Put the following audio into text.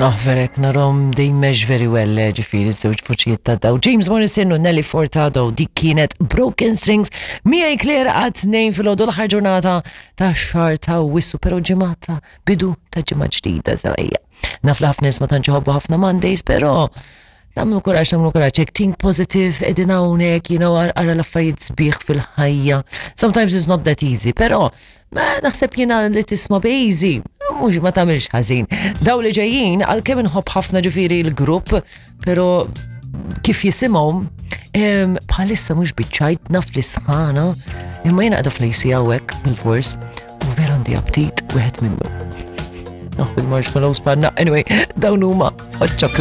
Oh, verek, narom they mesh very well, eh, ġifiri, żewġ voċijiet ta' daw. James Morrison u Nelly Furtado, dik kienet Broken Strings, miegħi Claire għat nejn fil-ħodu l-aħħar ġurnata ta' xar ta' wissu, pero ġimgħata bidu ta' ġimgħa ġdida żewqija. Naf li ħafna nies ma tantx iħobbu ħafna Mondays, pero Namlu kuraġġ, namlu kuraġġ, hekk think positive, qegħdin hawnhekk, you know, ara l-affarijiet sbieħ fil-ħajja. Sometimes it's not that easy, però ma naħseb jiena li tisma' easy, mhux ma tagħmilx ħażin. Daw li ġejjin għalkemm inħobb ħafna ġifieri l-grupp, però kif jisimhom bħalissa mhux biċċajt naf li sħana, imma jiena qiegħda fl-AC hawnhekk bil-fors u vera għandi aptit wieħed minnu. Oh, il-marshmallows panna. Anyway, dawn huma hot chocolate.